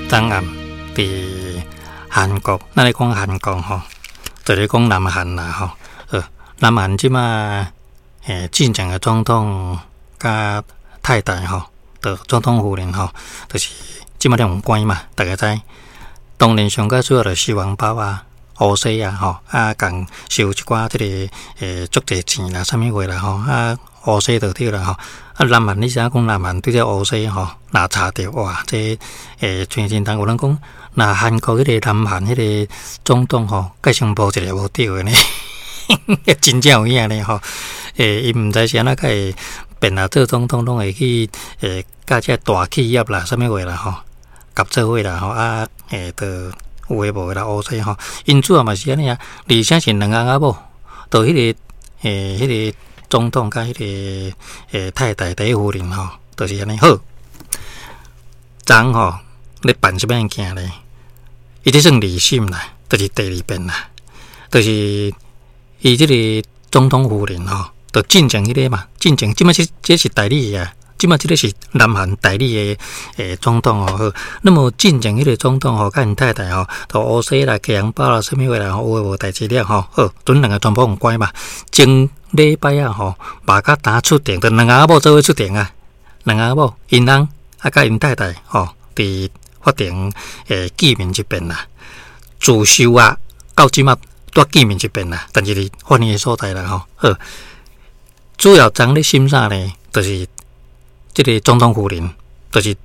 昨暗佇韓國，咱咧講韓國吼，就是講南韓啦吼。南韓這馬進前的總統佮太太吼，就總統夫人吼，就是這馬咧予關嘛，大家知。當然上較主要就是收紅包啊、烏西啊吼，啊共收一寡這個足濟錢啦，啥物貨啦吼，啊烏西就對啦吼。啊，南韓你知影講南韓對這烏西吼，若查著哇，這最近當有人講，若韓國彼個南韓彼個總統吼，蓋先無一個無對的呢，真正有影呢吼。伊毋知是按怎才會變啊做總統，攏會去佮這大企業啦，啥物貨啦吼，合做伙啦吼，啊就有的無的啦，烏西吼，𪜶主要嘛是按呢啊，而且是兩翁仔某，就彼個總統佮彼個太太第一夫人吼，就是按呢好。昨吼咧辦啥物物件咧？伊這算二審啦，就是第二遍啦，就是伊這個總統夫人吼，就進前彼個嘛，進前這馬這這是代理的啊，這馬這個是南韓代理的總統吼。好，那麼進前彼個總統吼，佮𪜶太太吼，就烏西啦、摕紅包啦、啥物貨啦，有的無代誌了吼。好，陣兩个全部予關嘛。前禮拜仔吼，嘛佮當出庭，就兩翁仔某做伙出庭啊。兩翁仔某，𪜶翁啊佮𪜶太太吼，佇法庭見面一遍啦。自受押到這馬拄見面一遍啦，但是佇法院的所在啦吼。好，主要昨咧審啥呢？就是這個總統夫人，就是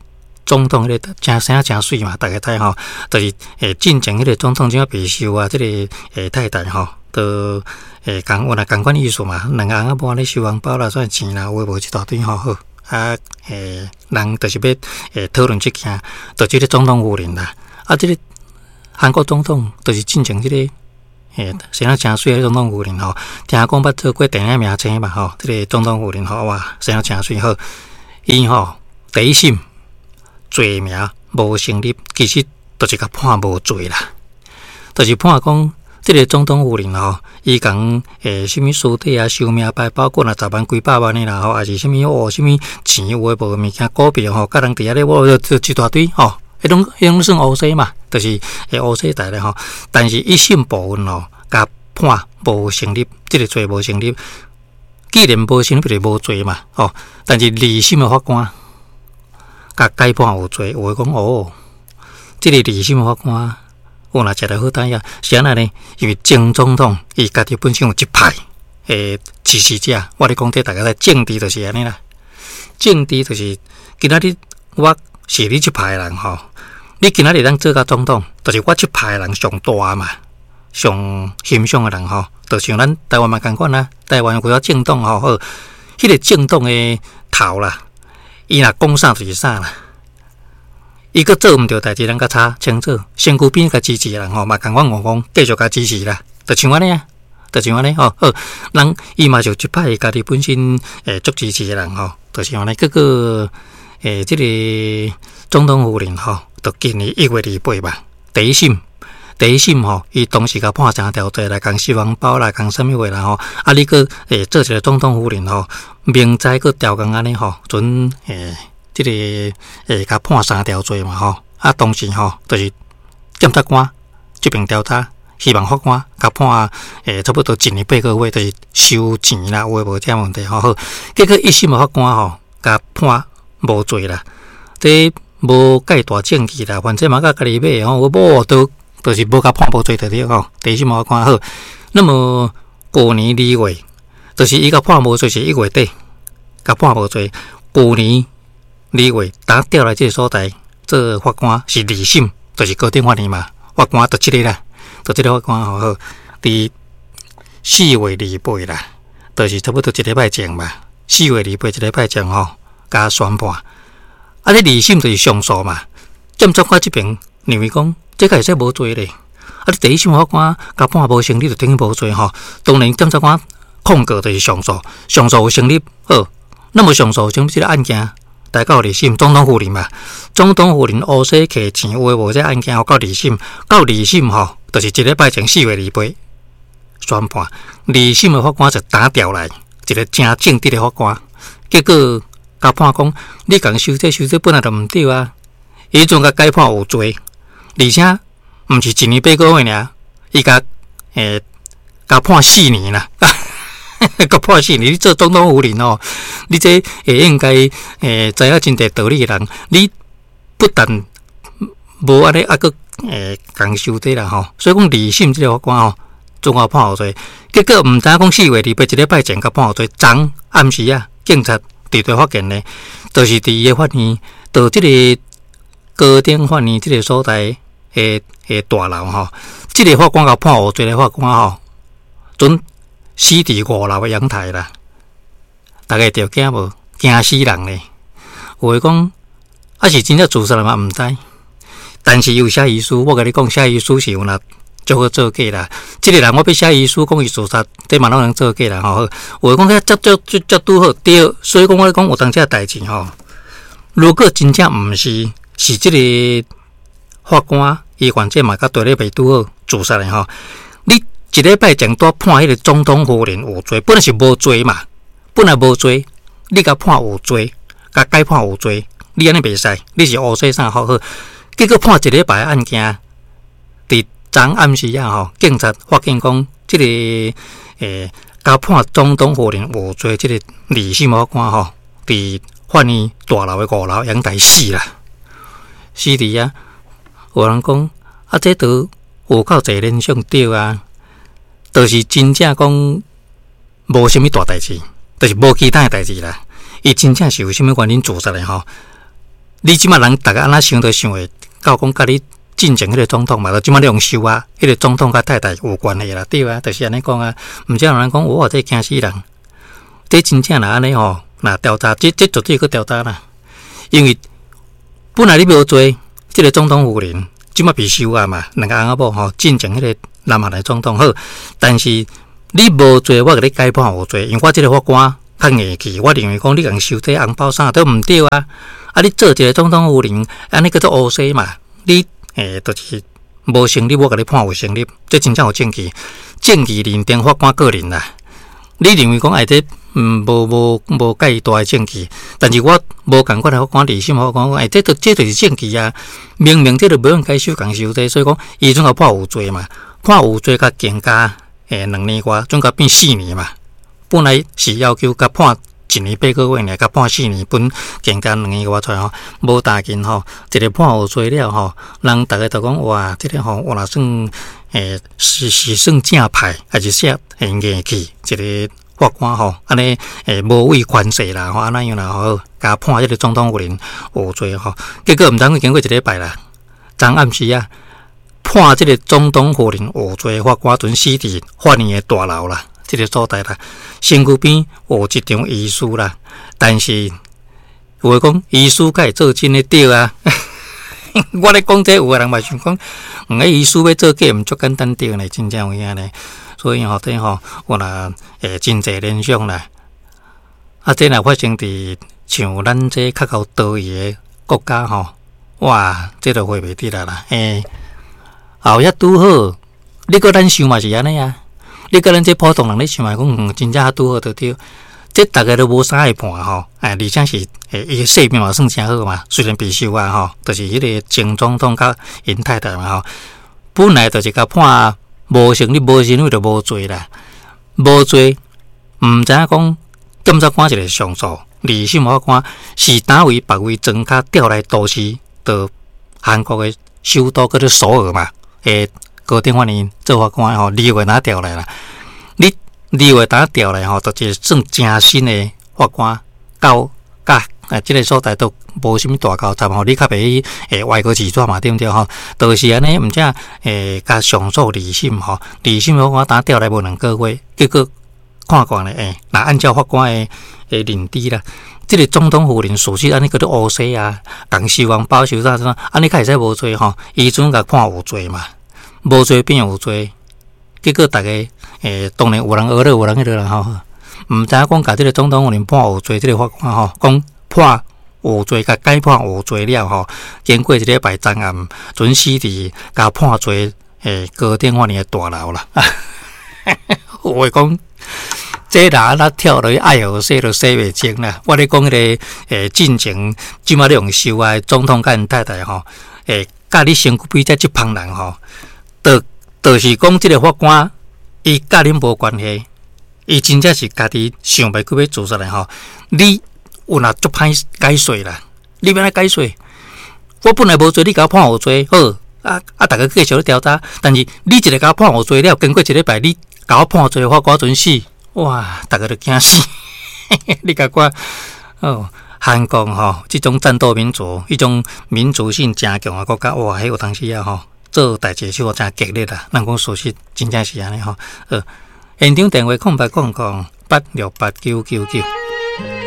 總統彼個誠生誠媠嘛，大家知吼。就是進前彼個總統這馬被收押，這個太太吼，都共原來仝款意思嘛，兩个翁仔某按呢收紅包啦，算錢啦，有的無一大堆吼。好啊，人就是欲討論這件，就這個總統夫人啦。啊，這個韓國總統就是進前這個生得誠媠的總統夫人吼，聽講捌做過電影明星嘛吼，這個總統夫人吼哇，生得誠媠好，伊吼第一審罪名無成立，其實就是共判無罪啦，就是判講這個總統夫人吼，伊共啥物私底下收名牌包裹啦，十萬幾百萬的啦吼，抑是啥物哦，啥物錢有的無的物件股票吼，佮人佇遐咧我就一大堆吼，彼種算烏西嘛，就是烏西代咧吼。但是一審部分吼，共判無成立，這個罪無成立。既然無成立，就是無罪嘛，吼。但是二審的法官共改判有罪，有的講哦，這個二審的法官有若食著好膽仔，是按怎呢？因為前總統伊家己本身有一派的支持者，我咧講這大家在政治就是按呢啦，政治就是今仔日我是你這派的人吼，你今仔日通做到總統，就是我這派的人上大嘛，上欣賞的人吼，就像咱台灣嘛仝款啊，台灣有幾個政黨吼，好，彼個政黨的頭啦，伊若講啥就是啥啦，伊閣做毋對代誌，人較查清楚，身軀邊共支持的人吼，嘛仝款戇戇繼續共支持啦，就像按呢啊，就像按呢吼，好，人伊嘛是有一派家己本身足支持的人吼，就是按呢，結果這個總統夫人吼，就今年1月28吧，第一審。第一審吼，伊當時共判三條罪來共收紅包來共啥物貨啦吼，啊你閣做一個總統夫人吼，明知閣調工按呢吼，陣這個共判三條罪嘛吼，啊當時吼就是檢察官這邊調查，希望法官共判差不多一年八個月，就是收錢啦，有的無這問題吼。好，結果一審的法官吼，共判無罪啦，這無蓋大證據啦，反正嘛佮家己買吼，我無都。就是無共判無罪就對吼，第一審法官好。那麼舊年二月，就是伊共判無罪是1月底，共判無罪。舊年二月，當調來這個所在做法官是二審，就是高等法院嘛。法官就這個啦，就這個法官吼好。佇4月28啦，就是差不多一禮拜前嘛。4月28一禮拜前吼，共宣判。啊，這二審就是上訴嘛。檢察官這邊認為講，這個會使無罪咧，啊！你第一審法官共判無成立，就等於無罪吼。當然，檢察官控告就是上訴，上訴有成立好。那麼上訴成立這個案件，來到二審，總統夫人嘛，總統夫人烏西摕錢有的無這案件，到二審，到二審吼，就是一禮拜前4月28宣判。二審的法官就打調來一個誠正直的法官，結果共判講，你共收這收這本來就毋對啊。彼陣共改判有罪，而且毋是一年八個月爾，伊共共判四年啦，共判四年。你做總統夫人哦，你這會應該知影真濟道理的人，你不但無按呢，猶閣共收這啦吼。所以講二審這個法官吼，總共判有罪，結果毋知影講4月28一禮拜前共判有罪，昨暗時啊，警察佇佗發現呢，就是佇伊的法院，到這個高等法院這個所在的大樓吼，這個法官共判有罪的法官吼，準死佇五樓的陽台啦。逐家著驚無？驚死人咧！有的講，啊是真正自殺嘛？毋知。但是有寫遺書，我共你講，寫遺書是有若足好做假啦。這個人我欲寫遺書講伊自殺，這嘛攏能做假啦吼。有的講遐遮遮遮遮拄好對，所以講我咧講有當這代誌吼。如果真正毋是是這個法官，伊反正嘛佮對咧袂拄好自殺的吼。你一禮拜前拄判彼個總統夫人有罪，本來是無罪嘛，本來無罪，你共判有罪，共改判有罪，你按呢袂使，你是烏說啥好好？結果判一禮拜案件，佇昨暗時啊吼，警察發現講，這個共判總統夫人有罪，這個二審法官吼，佇法院大樓的五樓陽台死啦，死佇遐。有人講啊，這都有夠濟聯想對啊，就是真正講無啥物大代誌，就是無其他的代誌啦。伊真正是有啥物原因自殺的吼？你這馬人逐家按怎想都想會到講佮你進前彼個總統嘛，就這馬咧予收押，彼個總統佮太太有關係啦，對啊，就是按呢講啊。毋知有人講哇，這驚死人，這真正若按呢吼，若調查，這這絕對閣調查啦。因為本來你無罪，這個總統夫人這馬被收押嘛，兩個翁仔某吼，進前彼個南韓的總統好，但是你無罪，我共你改判有罪，因為我這個法官較硬氣，我認為講你共收這紅包啥都毋對啊。啊！你做一個總統夫人，按呢叫做烏說嘛？你就是無成立，我共你判有成立，這真正有證據，證據認定法官個人啦。你認為講哎，這無無無介大的證據，但是我無仝款的法官，二審法官講，哎，這就這就是證據啊！明明這就無應該收共收這，所以講伊總共判有罪嘛，判有罪共減加2年外，總共變四年嘛。本來是要求共判一年八個月爾，共判四年半，減加兩年外出來吼，無大緊吼，一個判有罪了吼，人逐家都講哇，這個吼，我若算是是算正派，還是說硬氣一個法官吼，按呢無畏權勢啦，吼，按怎樣啦吼，共判這個總統夫人有罪吼，結果毋知影經過一禮拜啦，昨暗時啊，判這個總統夫人有罪的法官陣死佇法院的大樓啦。這個所在啦，身軀邊有一張遺書啦，但是有的講遺書敢會做真的對啊？我咧講這，有的人嘛想講，遺書欲做假，毋足簡單對呢，真正有影呢。所以吼，這吼有若會真濟聯想啦。啊，這若發生佇像咱這較𠢕多元的國家吼，哇，這就過袂得啦啦。後遐拄好，你閣咱想嘛是按呢啊？你閣咱這普通人咧想嘛講，真正較拄好就對。這逐家都無啥會判吼，哎，而且是伊的性命嘛算誠好嘛，雖然被收押吼，就是彼個前總統佮𪜶太太嘛吼，本來就是共判無成立，無成立就無罪啦，無罪，毋知影講檢察官一個上訴，二審法官是佗位別位莊跤調來都市到韓國的首都叫做首爾嘛，高等法院做法官吼，二月若調來啦。你二月當調來吼，就是算誠新的法官，到佮這個所在都無啥物大交集吼，你較袂去歪過自轉嘛，對毋對吼？就是按呢，毋才共上訴二審吼，二審法官當調來無兩個月，結果看看咧，若按照法官的認知啦，這個總統夫人事實按呢叫做烏說啊，共收紅包收啥啥，按呢較會使無罪吼？伊陣共判有罪嘛？無罪變有罪，結果逐家當然有人學咧，有人彼落啦吼。毋知影講共這個總統夫人判有罪，這個法官吼，講判有罪，共改判有罪了吼。經過一禮拜昨暗，準死佇共判罪高等法院的大樓啦。有的講，這若若跳落去愛河洗都洗袂清啦。我咧講彼個進前這馬咧用收的總統佮𪜶太太吼，佮你身軀比這這幫人吼，就是講這个法官伊佮恁無關係，伊真正是家己想欲去欲自殺的吼。你有若足歹解釋啦，你欲按怎解釋？我本來無罪，你共我判有罪，好啊啊！逐家繼續咧調查，但是你一个共我判有罪了，經過一禮拜，你共我判罪，法官準死，哇！逐家都驚死。你共看哦，韓國吼，這種戰鬥民族，彼種民族性誠強的國家，哇！彼有當時啊吼，做代誌手誠激烈啦。咱講事實，真正是按呢吼。現場電話0800868999。